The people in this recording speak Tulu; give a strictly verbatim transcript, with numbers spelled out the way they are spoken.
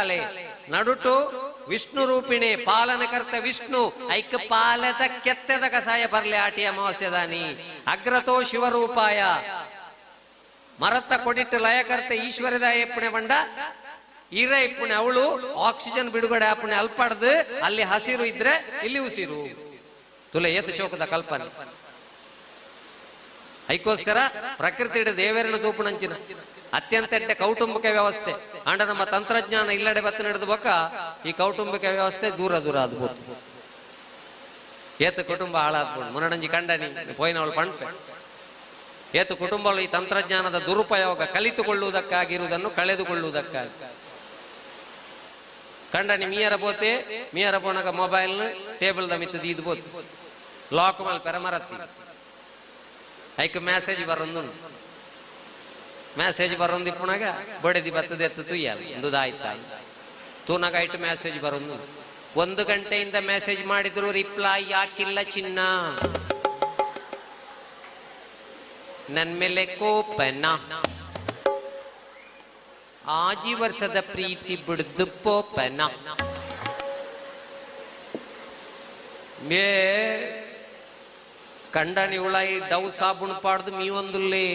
ಕೈತಾಲೆ ನಡುಟು ವಿಷ್ಣು ರೂಪಿಣಿ ಪಾಲನಕರ್ತ ವಿಷ್ಣು ಐಕ್ ಪಾಲದ ಕೆತ್ತೆದ ಕಸಾಯ ಬರ್ಲೆ ಆಟಿ ಅಮಾವಾಸ್ಯದಾನಿ. ಅಗ್ರತೋ ಶಿವರೂಪಾಯ ಮರತ್ತ ಕೊಡಿಟ್ಟು ಲಯಕರ್ತ ಈಶ್ವರದ ಎಪ್ಪಣೆ ಬಂಡ ಇರ ಇಪ್ಪಣೆ ಅವಳು ಆಕ್ಸಿಜನ್ ಬಿಡುಗಡೆ ಆಪಣೆ ಅಲ್ಪಡ್ದು ಅಲ್ಲಿ ಹಸಿರು ಇದ್ರೆ ಇಲ್ಲಿ ಉಸಿರು ತುಲೆ ಏತ ಶೋಕದ ಕಲ್ಪನೆ. ಐಕೋಸ್ಕರ ಪ್ರಕೃತಿ ದೇವರನ್ನ ತೂಪುಣಂಚಿನ ಅತ್ಯಂತ ಎಡ್ಡೆ ಕೌಟುಂಬಿಕ ವ್ಯವಸ್ಥೆ. ಅಂಡ ನಮ್ಮ ತಂತ್ರಜ್ಞಾನ ಇಲ್ಲಡೆ ಬತ್ತ ನಡೆದು ಬೊಕ್ಕ ಈ ಕೌಟುಂಬಿಕ ವ್ಯವಸ್ಥೆ ದೂರ ದೂರ ಆದ್ಬೋದು. ಏತ ಕುಟುಂಬ ಹಾಳಾದ್ಬೋದು. ಮುನಡಂಜಿ ಕಂಡನಿ ಪೋಯಿನವಳು ಪಣ್ಪೆ ಏತು ಕುಟುಂಬಗಳು ಈ ತಂತ್ರಜ್ಞಾನದ ದುರುಪಯೋಗ ಕಲಿತುಕೊಳ್ಳುವುದಕ್ಕಾಗಿರುವುದನ್ನು ಕಳೆದುಕೊಳ್ಳುವುದಕ್ಕಾಗಿ. ಕಂಡನಿ ಮೀಯರ ಬೋತೆ ಮೀಯರ ಪೋಣಗ ಮೊಬೈಲ್ ಟೇಬಲ್ the ಮಿತ್ತು ದೀದ್ ಬೋತು ಲಾಕ್ ಮಲ್ ಪೆರಮರತ್ತಿ ಐಕ್ ಮೆಸೇಜ್ ಬರೊಂದು ಮೆಸೇಜ್ ಬರೊಂದು ಇಪ್ಪುನಾಗ ಬಡೆದಿ ಬತ್ತದ ಎತ್ತು ತುಯ್ಯಲ್ಲ ಒಂದು ಆಯ್ತಾ ತೂನಾಗ ಐಟು ಮೆಸೇಜ್ ಬರೊಂದು ಒಂದು ಗಂಟೆಯಿಂದ ಮೆಸೇಜ್ ಮಾಡಿದ್ರು ರಿಪ್ಲೈ ಯಾಕಿಲ್ಲ ಚಿನ್ನ, ನನ್ ಮೇಲೆ ಕೋಪನ, ಆಜಿ ವರ್ಷದ ಪ್ರೀತಿ ಬಿಡ್ದು ಪೋಪನ. ಮೇ ಕಂಡನಿ ಉಳಾಯಿ ಡವ್ ಸಾಬೂನ್ ಪಾಡ್ದು ಮೀ ಒಂದುಲ್ಲೇ